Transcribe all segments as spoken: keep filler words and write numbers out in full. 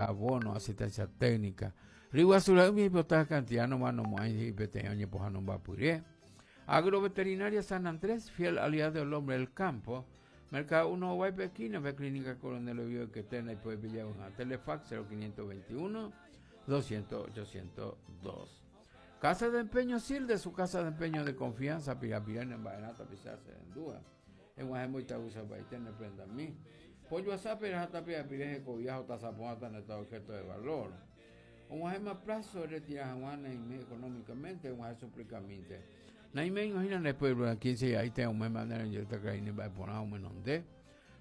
abono, asistencia técnica. Riguazura mi hipota cantidad no mano y peteño pojano vapuré. Agroveterinaria San Andrés, fiel aliado del hombre del campo. Mercado uno Guaypequina, ve Clínica Coronel Oviedo que tiene y puede pillar una Telefax cero quinientos veintiuno doscientos ochocientos dos. Casa de Empeño Silde, su casa de empeño de confianza, Pirapirana en Baenata, Pisarse en Dúa. En Guajemo y Tabusa, Baitene, prenda a mí. Pollo a Jata, Pirapireje, Cobiajo, Tazapoata, en este objeto de valor. Un Guajema plazo, retira Juana y me económicamente, un Guajema suplicamente. Naime imagina después de quince ahí tengo un mes manera en esta caína va a poner un menón de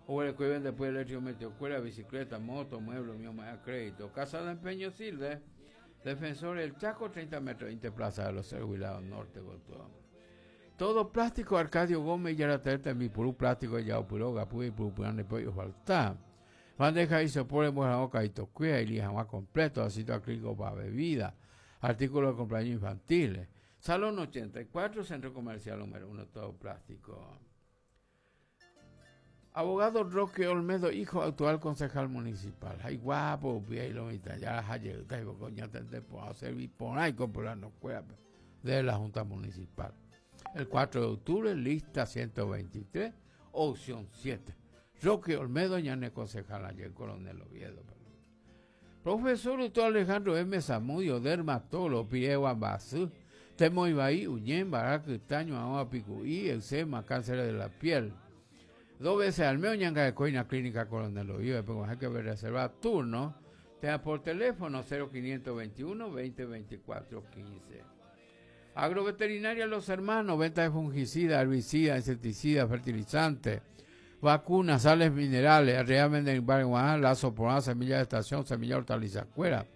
o el que vende después eléctrico metió escuela, bicicleta, moto, mueble, mío más crédito. Casa de Empeño Silde, Defensor del Chaco, treinta metros, veinte Plaza de los Cerros, Norte, Gotó. Todo plástico, Arcadio Gómez, y la mi purú plástico, ya puró, gapu y purú, purán, de pollo falta. Bandeja y soporte, buena boca y tocuea, y lija más completo, ácido acrílico para bebida, artículos de cumpleaños infantiles. Salón ochenta y cuatro, Centro Comercial número uno, todo plástico. Abogado Roque Olmedo, hijo actual concejal municipal. Ay, guapo, pie y lo mitad, ya la hayeta, y coña, te, te puedo servir por ahí, comprar no cueva de la Junta Municipal. El cuatro de octubre, lista ciento veintitrés, opción siete. Roque Olmedo, ñane concejal ayer, Coronel Oviedo. Profesor doctor Alejandro M. Zamudio, dermatólogo, pie Guambasú. Temo Ibaí, Uñén, Baraca, Itaño, Ahoa, Picuí, eczema, cáncer de la piel. Dos veces al mes, Ñanga de Coina, Clínica Coronel Oviedo, después hay que ver reservar turno. Te da por teléfono cero quinientos veintiuno, veinte veinticuatro, quince. Agroveterinaria Los Hermanos, venta de fungicida, herbicida, insecticida, fertilizante, vacunas, sales minerales, realmente en Barrio lazo por semilla de estación, semilla hortaliza cuera.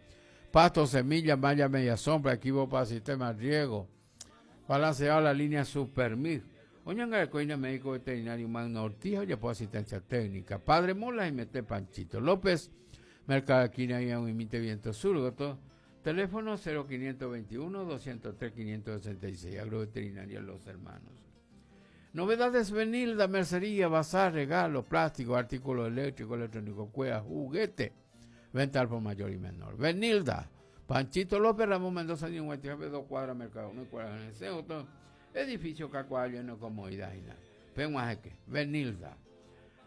Pasto, semilla, malla, media sombra, equipo para sistema de riego, balanceado la línea Supermix. Oñanga de Coina, médico veterinario Magno Ortiz, oye, por asistencia técnica. Padre Mola y Mete Panchito López, Mercado Esquina y un imite Viento Sur, todo. Teléfono cero quinientos veintiuno, doscientos tres, quinientos sesenta y seis, Agroveterinaria Los Hermanos. Novedades Benilda, mercería, bazar, regalo, plástico, artículos eléctricos, electrónico, cueva, juguete. Venta al por mayor y menor. Benilda, Panchito López, Ramón Mendoza, cincuenta y nueve, dos cuadras, Mercado uno, cuadras en el Ceuto, edificio Cacuayo, no comodidad y nada. Penguajeque, Benilda.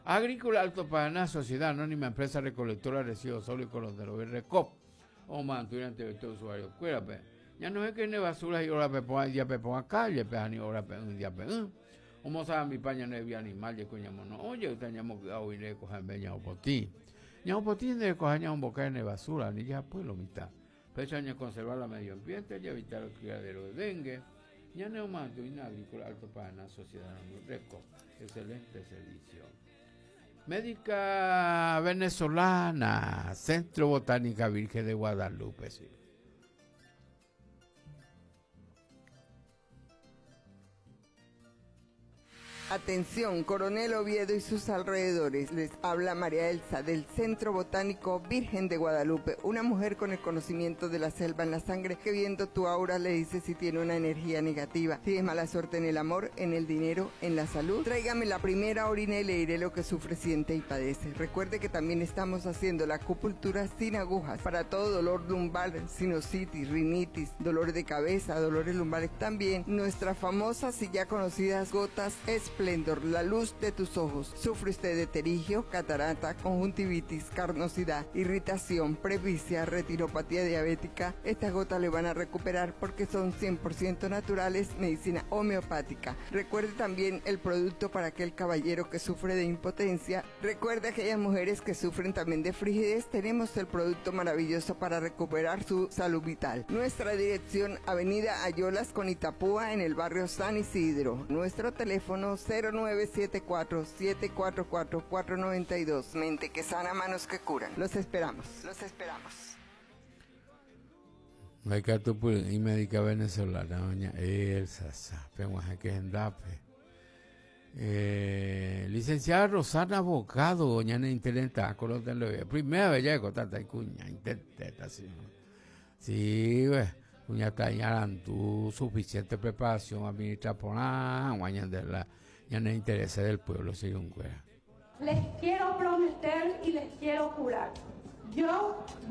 Agrícola Alto Paraná, Sociedad Anónima, Empresa Recolectora, Residuos Sólidos, Colón de Lover, Recop. O mantuir ante todo usuario. Cuérape. Ya no es que ne basura y ahora pe ponga, ya pe ponga calle, pe ani ahora pe un día pe un. Como saben mi paña no había animal, ya coñamo no. Oye, usted ñamo que hoy le cojan beña o potí. Ñamo potí de cojan ñamo boca en basura, ni ya pues lo mitad. Pero año conservar la medio ambiente y evitar el criadero de dengue. Ya no mantuir Agrícola Alto Paraná, Sociedad Anónima, Recop. Excelente servicio. Médica venezolana, Centro Botánica Virgen de Guadalupe. Sí. Atención, Coronel Oviedo y sus alrededores. Les habla María Elsa del Centro Botánico Virgen de Guadalupe, una mujer con el conocimiento de la selva en la sangre que viendo tu aura le dice si tiene una energía negativa, si es mala suerte en el amor, en el dinero, en la salud. Tráigame la primera orina y le diré lo que sufre, siente y padece. Recuerde que también estamos haciendo la acupuntura sin agujas para todo dolor lumbar, sinusitis, rinitis, dolor de cabeza, dolores lumbares. También nuestras famosas y ya conocidas gotas Esplendor, la luz de tus ojos. Sufre usted de pterigio, catarata, conjuntivitis, carnosidad, irritación, presbicia, retinopatía diabética. Estas gotas le van a recuperar porque son cien por ciento naturales, medicina homeopática. Recuerde también el producto para aquel caballero que sufre de impotencia. Recuerde aquellas mujeres que sufren también de frigidez. Tenemos el producto maravilloso para recuperar su salud vital. Nuestra dirección, Avenida Ayolas con Itapúa, en el barrio San Isidro. Nuestro teléfono cero nueve siete cuatro, siete cuatro cuatro, cuatro noventa y dos. Mente que sana, manos que curan. Los esperamos, los esperamos. Y médica venezolana, doña Elsa, sa, que endape. Eh, licenciada Rosana Abogado, doña Interenta, colótenlo. Primera vez ya de tanta cuña, intenta, sí. Sí, güey. Cuña tañaran tu suficiente preparación administra por la guaña de la ya no interesa del pueblo, sí, un güey. Les quiero prometer y les quiero jurar. Yo